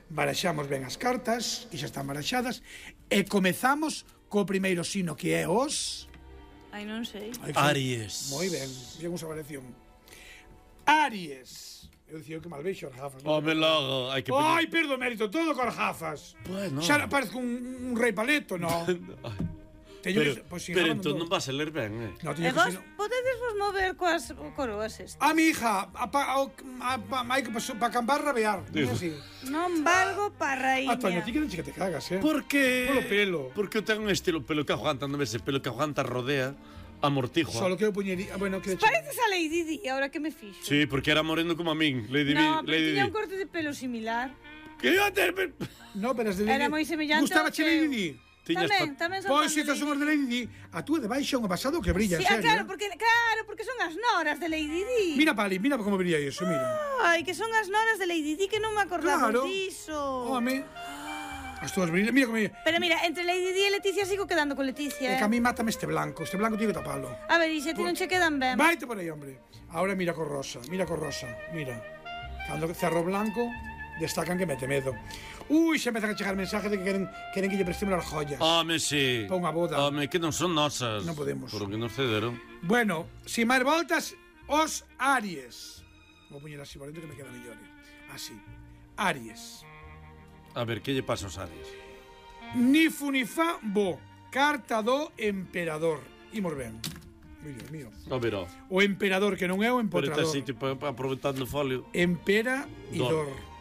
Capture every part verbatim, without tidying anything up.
baraxamos ben as cartas, que xa están baraxadas, e comezamos co primeiro signo, que é os... Ai, non sei. Aries. Moi ben, bien usa variación. Aries. Eu dicía que mal vexo as gafas. Home, logo, hai que... Ai, perdo mérito, todo con as gafas. Bueno. Xa parezco un, un rei paleto, no? Teño pero, que, pues, pero entón non vas a ler ben, eh? No, E vos podedes vos mover coas coroas estas? A mi hija, a, a, a, a, hai que para cambar rabear. Así. Non valgo pa raíña. Ah, Toño, ti que non che que te cagas, eh? Por que? Polo pelo. Porque eu tengo un estilo pelo que aguanta, non ves? Pelo que aguanta rodea, amortigua. Solo que eu puñería... Bueno, que... Pareces a Lady Di, ahora que me fixo. Sí, porque era moreno como a min, Lady Di. No, pero Lady tiña Di. un corte de pelo similar. Que iba a ter... No, pero es de Era moi semellante Gustaba ao che teu. Lady Di? Tamén, tamén son Pois fan si de estas son as de Lady Di, a túa de baixo un pasado que brilla, Sí, en ah, serio. claro, porque, claro, porque son as noras de Lady Di. Mira, Pali, mira como brilla iso, mira. Ai, que son as noras de Lady Di, que non me acordaba Claro. diso. Home. As túas brillan, mira como... Pero mira, entre Lady Di e Leticia sigo quedando con É Leticia, eh. que a mí mátame este blanco, este blanco tiene que tapalo. A ver, e se ti non che quedan ben? Vaite por aí, hombre. Ahora mira con rosa, mira con rosa, mira. Cando cerro blanco, destacan que mete medo. Ui, xa empezan a chegar mensajes de que queren, queren que lle prestemos as joyas. Home, sí. Pa unha boda. Home, que non son nosas. Non podemos. Por o que nos cederon. Bueno, sin máis voltas, os Aries. Vou poñer así por dentro que me queda mellor. Así. Aries. A ver, que lle pasa aos Aries? Ni fu ni fa bo. Carta do emperador. Imos ben. Moi Dios mío. A ver, ó. O emperador, que non é o Pero empotrador. está así, tipo, aproveitando o folio. Empera e Dor. dor.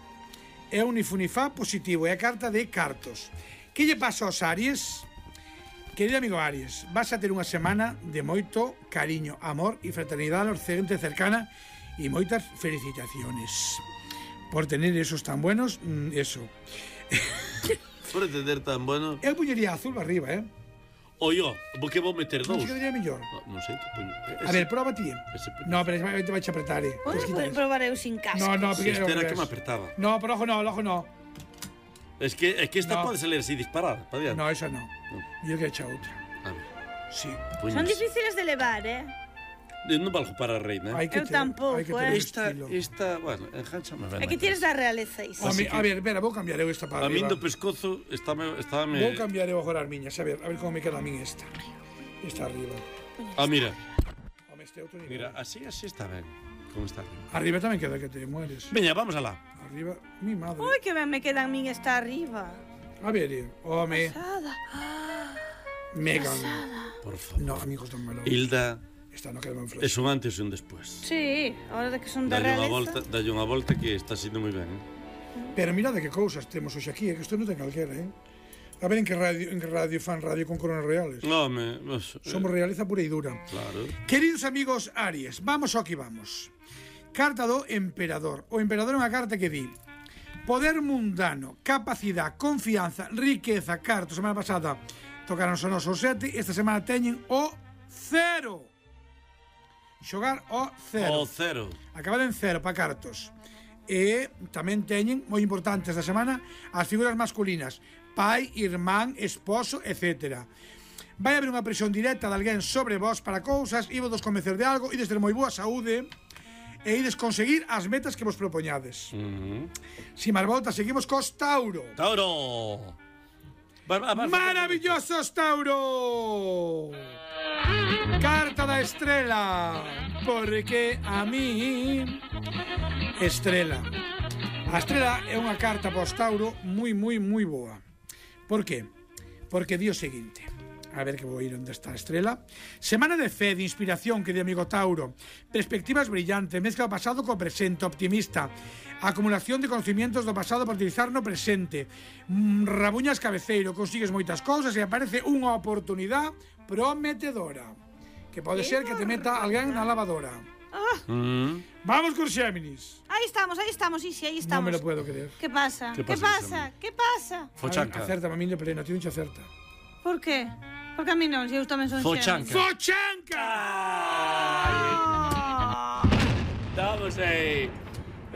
É un nifunifá positivo, é a carta de cartos. Que lle pasa aos Aries? Querido amigo Aries, vas a ter unha semana de moito cariño, amor e fraternidade aos xente cercana e moitas felicitaciones. Por tener esos tan buenos, mm, eso. Por entender tan bueno. Eu puñería azul arriba, eh? Oio, vou que vou meter Non dous. se quedaría mellor. Non sei, que poño. A ver, proba ti. Ese, No, pero te vai a apretar, eh. Podes probar eu sin casco. No, no, Si porque este era que me apertaba. No, por ojo no, el ojo no. Es que, es que esta No. pode salir así disparada, pa diante. No, esa no. Yo que he hecho outra. A ver, Sí. poñes. Son difíciles de levar, eh. Non valgo para a reina. Hai que Eu ter- tampouco, hai que ter eh. Esta, estilo. esta, bueno, enganchame ben. É que tienes da realeza iso. A, Así mi, que- a ver, espera, vou cambiar eu esta para A min arriba. do pescozo estáme, estáme... Vou cambiar eu agora as miñas, a ver, a ver como me queda a min esta. Esta arriba. Ah, mira, Home, este outro nivel. mira, así, así está ben. Como está arriba. Arriba tamén queda que te mueres. Veña, vamos alá. Arriba, mi madre. Ui, que ben me quedan min esta arriba. A ver, eh, home, Pasada. Megan. Por favor. No, amigos, non me lo... Hilda, Esta no queda ben flash. es un antes e un despois. Sí, ahora de que son da Dalle unha volta, realeza. dalle unha volta que está sendo moi ben, eh? Pero mira de que cousas temos hoxe aquí, é que isto non ten calquera, eh? A ver en que radio, en que radio fan radio con coronas reales. Home, pues, Somos realeza pura e dura. claro. Queridos amigos Aries, vamos ao que vamos. Carta do emperador. O emperador é unha carta que di: poder mundano, capacidade, confianza, riqueza, cartos. Semana pasada tocaron os nosos sete, esta semana teñen o cero. Xogar o cero. O cero. Acabado en cero para cartos. E tamén teñen, moi importante esta semana, as figuras masculinas: pai, irmán, esposo, etcétera. Vai haber unha presión directa de alguén sobre vos para cousas, e vos convencer de algo, ides ter moi boa saúde e ides conseguir as metas que vos propoñades. Uh -huh. Si máis volta, seguimos cos Tauro. Tauro. Va, va, va, Maravillosos Tauro. Carta da estrela. Porque a mí Estrela. A estrela é unha carta para os Tauro moi, moi, moi boa. Por qué? Porque di o seguinte. A ver que vou ir onde está a estrela. Semana de fe, de inspiración, que di amigo Tauro. Perspectivas brillantes, mezcla o pasado co presente, optimista. Acumulación de conocimientos do pasado para utilizar no presente. Mm, rabuñas cabeceiro, consigues moitas cousas e aparece unha oportunidade prometedora. Que pode ser que te meta alguén na lavadora. Ah, Mm. Vamos con Xéminis. aí estamos, aí estamos, Isi, aí estamos. Non me lo puedo creer. Que pasa? Que Que pasa, pasa? Que pasa? Fochanca. Acerta, a mí de pleno, ti non che acerta. Por qué? Porque a mí non, se eu tamén son Fochanca. Xéminis. Fochanca! Ah. Vamos aí.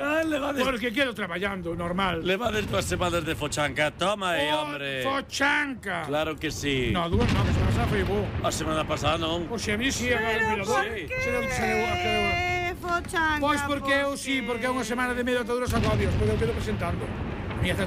Ah, levades, Porque quedo traballando, normal. levades dúas semanas de fochanca. Toma aí, Fo- hombre. Fochanca! Claro que sí. No, dúas non, que se pasaba foi bo. A semana pasada non. O Xéminis si, agora Pero mira, por sí. qué? Se non se deu a que Fochanca, Pois porque eu por sí, qué? porque é unha semana de medio ataduras agobios, porque eu quedo presentando. A miña certa